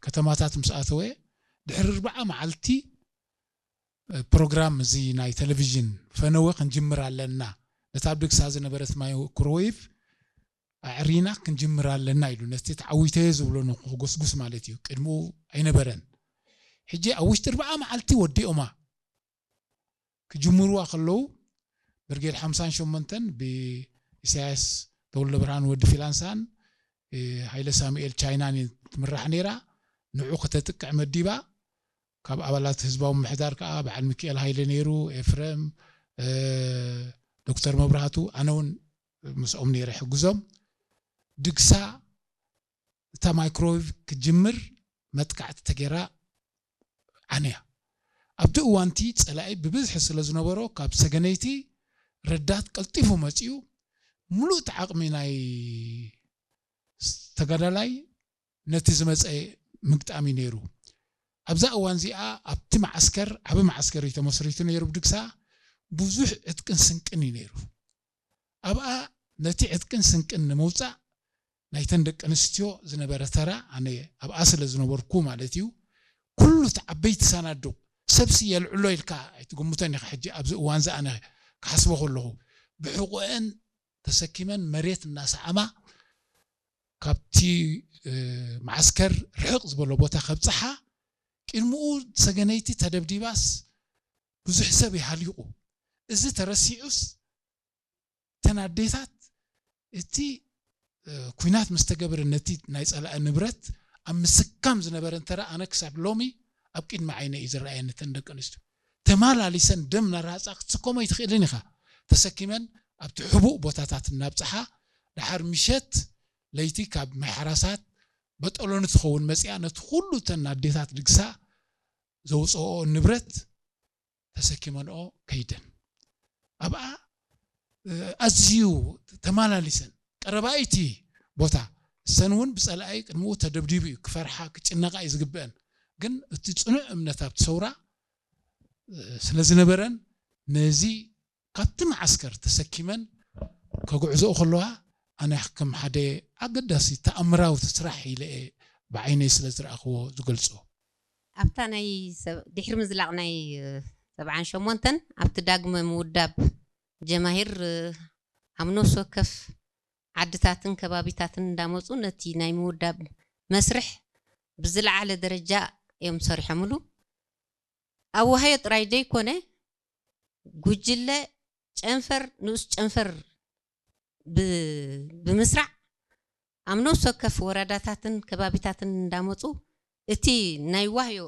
ከተማታት ምስ ኣተወ ድሕሪ ኣርብዓ መዓልቲ ፕሮግራም እዚ ናይ ቴሌቪዥን ፈነወ ክንጅምር ኣለና። ነታ ኣብ ድግሳ ዝነበረት ማይክሮዌቭ ኣዕሪና ክንጅምር ኣለና ኢሉ፣ ነቲ ተዓዊተዮ ዝብሎ ንክጎስጉስ ማለት እዩ። ቅድሚኡ ኣይነበረን። ሕጂ ኣብ ውሽጢ ኣርብዓ መዓልቲ ወዲኦማ። ክጅምርዋ ከለዉ ብርጌድ ሓምሳን ሸሞንተን ብኢሳያስ ተወልደ ብርሃን ወዲ ፊላንሳን ሃይለ ሳሙኤል ቻይናን ትምራሕ ነይራ። ንዑ ከተጥቅዕ መዲባ። ካብ ኣባላት ህዝባዊ ምሕዳር ከዓ በዓል ሚካኤል ሃይለ ነይሩ፣ ኤፍረም፣ ዶክተር መብራህቱ፣ ኣነ እውን ምስኦም ነይረ ሕግዞም። ድግሳ እታ ማይክሮዌቭ ክትጅምር መጥቃዕቲ ተገይራ ዓንያ። ኣብቲ እዋንቲ ፀላኢ ብብዝሒ ስለ ዝነበሮ ካብ ሰገነይቲ ረዳት ቀልጢፉ መፂኡ። ሙሉእ እቲ ዓቕሚ ናይ ተጋዳላይ ነቲ ዝመፀ ምግጣም እዩ ነይሩ። ኣብዛ እዋን እዚኣ ኣብቲ መዓስከር ዓቢ መዓስከር እዩ ተመስሪቱ ነይሩ ብድግሳ። ብዙሕ ዕጥቅን ስንቅን እዩ ነይሩ ኣብኣ። ነቲ ዕጥቅን ስንቅን ንምውፃእ ናይተን ደቂ ኣንስትዮ ዝነበረ ተራ፣ ኣነ ኣብኣ ስለ ዝነበርኩ ማለት እዩ፣ ኩሉ እቲ ዓበይቲ ሳናዱቕ ሰብሲ የልዕሎ ኢልካ ኣይትግምቶን ኢኻ። ሕጂ ኣብዚ እዋን እዚ ኣነ ክሓስቦ ከለኹ ብሕቑኤን ተሰኪመን መሬት እናሰዓማ ካብቲ መዓስከር ርሕቕ ዝበሎ ቦታ ከብፅሓ፣ ቅድሚኡ ሰገነይቲ ተደብዲባስ ብዙሕ ሰብ ይሃሊቑ። እዚ ተረሲዑስ እተን ኣዴታት እቲ ኩናት ምስ ተገብረ ነቲ ናይ ፀላኢ ንብረት ኣብ ምስካም ዝነበረን ተራ ኣነ ክሳብ ሎሚ ኣብ ቅድሚ ዓይነ እዩ ዝረኣየኒ። እተን ደቂ ኣንስትዮ ተማላሊሰን ደም ናራሃፃ ክትስከሞ ኣይትኽእልን ኢኻ። ተሰኪመን ኣብቲ ሕቡእ ቦታታት እናብፅሓ ደሓር ምሸት ለይቲ ካብ ማይ ሓራሳት በጠሎኒ ትኸውን መፅያ ነቲ ኩሉ እተን ኣዴታት ድግሳ ዘውፅኦ ንብረት ተሰኪመንኦ ከይደን ኣብኣ ኣዝዩ ተማላሊሰን ቀረባይቲ ቦታ እሰን እውን ብፀላኢ ቅድሚኡ ተደብዲቡ እዩ ክፈርሓ ክጭነቃ እዩ ዝግብአን። ግን እቲ ፅኑዕ እምነት ኣብቲ ሰውራ ስለ ዝነበረን ነዚ ካብቲ መዓስከር ተሰኪመን ከጉዕዞኡ ከለዋ ኣነ ከም ሓደ ኣገዳሲ ተኣምራዊ ስራሕ ኢለ ብዓይነይ ስለ ዝረኣኽዎ ዝገልፆ። ኣብታ ናይ ድሕሪ ምዝላቕ ናይ ሰብዓን ሸሞንተን ኣብቲ ዳግመ ምውዳብ ጀማሂር ኣብ ነፍሲ ወከፍ ዓድታትን ከባቢታትን እንዳመፁ ነቲ ናይ ምውዳብ መስርሕ ብዝለዓለ ደረጃ እዮም ሰሪሖምሉ። ኣብ ዋህዮ ጥራይ ዘይኮነ ጉጅለ ጨንፈር ንኡስ ጨንፈር ብምስራዕ ኣብ ነፍሲ ወከፍ ወረዳታትን ከባቢታትን እንዳመፁ እቲ ናይ ዋህዮ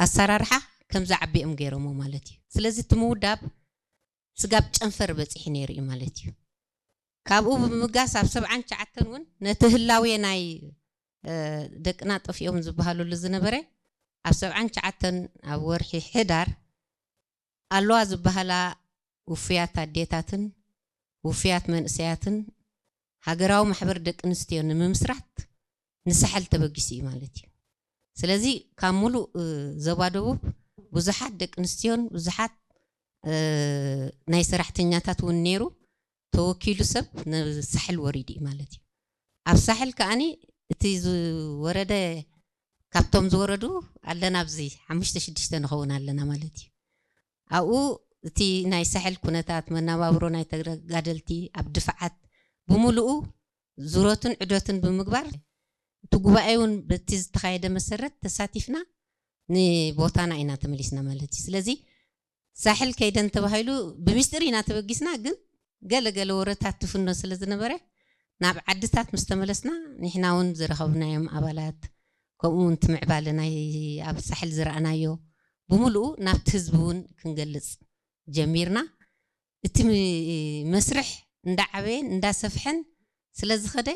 ኣሰራርሓ ከም ዝዓቢ እዮም ገይሮሞ ማለት እዩ። ስለዚ እቲ ምውዳብ ስጋብ ጨንፈር በፂሑ ነይሩ እዩ ማለት እዩ። ካብኡ ብምጋስ ኣብ ሰብዓን ትሽዓተን እውን ነቲ ህላዌ ናይ ደቅና ጠፊኦም ዝበሃሉሉ ዝነበረ ኣብ ሰብዓን ትሽዓተን ኣብ ወርሒ ሕዳር ኣለዋ ዝበሃላ ውፉያት ኣዴታትን ውፉያት መንእሰያትን ሃገራዊ ማሕበር ደቂ ኣንስትዮ ንምምስራት ንሳሕል ተበጊሱ እዩ ማለት እዩ። ስለዚ ካብ ሙሉእ ዞባ ደቡብ ብዙሓት ደቂ ኣንስትዮን ብዙሓት ናይ ሰራሕተኛታት እውን ነይሩ ተወኪሉ ሰብ ናብ ሳሕል ወሪዱ እዩ ማለት እዩ። ኣብ ሳሕል ከዓኒ እቲ ዝወረደ ካብቶም ዝወረዱ ኣለና ኣብዚ ሓሙሽተ ሽዱሽተ ንኸውን ኣለና ማለት እዩ። ኣብኡ እቲ ናይ ሳሕል ኩነታት መናባብሮ ናይ ተጋደልቲ ኣብ ድፍዓት ብምሉኡ ዙረቱን ዕደቱን ብምግባር እቲ ጉባኤ እውን በቲ ዝተኻየደ መሰረት ተሳቲፍና ንቦታና ኢና ተመሊስና ማለት እዩ። ስለዚ ሳሕል ከይደን ተባሂሉ ብሚስጥር ኢና ተበጊስና፣ ግን ገለ ገለ ወረታት ትፍኖ ስለ ዝነበረ ናብ ዓድታት ምስ ተመለስና ንሕና እውን ዝረኸብናዮም ኣባላት ከምኡ እውን እቲ ምዕባለ ናይ ኣብ ሳሕል ዝረኣናዮ ብምሉኡ ናብቲ ህዝቢ እውን ክንገልፅ ጀሚርና። እቲ መስርሕ እንዳዓበየን እንዳሰፍሐን ስለ ዝኸደ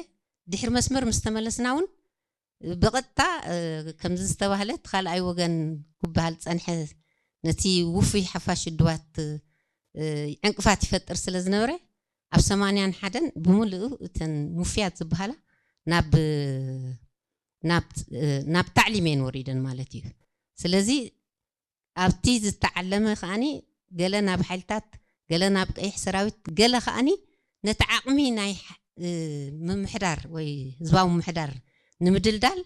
ድሕሪ መስመር ምስ ተመለስና እውን ብቐጥታ ከምዚ ዝተባህለ እቲ ካልኣይ ወገን ክበሃል ዝፀንሐ ነቲ ውፉይ ሓፋሽ ውድባት ዕንቅፋት ይፈጥር ስለ ዝነበረ ኣብ ሰማንያን ሓደን ብምልኡ እተን ውፍያት ዝበሃላ ናብ ናብ ታዕሊም እየን ወሪደን ማለት እዩ። ስለዚ ኣብቲ ዝተዓለመ ከዓኒ ገለ ናብ ሓይልታት ገለ ናብ ቀይሕ ሰራዊት ገለ ከዓኒ ነቲ ዓቕሚ ናይ ምምሕዳር ወይ ህዝባዊ ምምሕዳር ንምድልዳል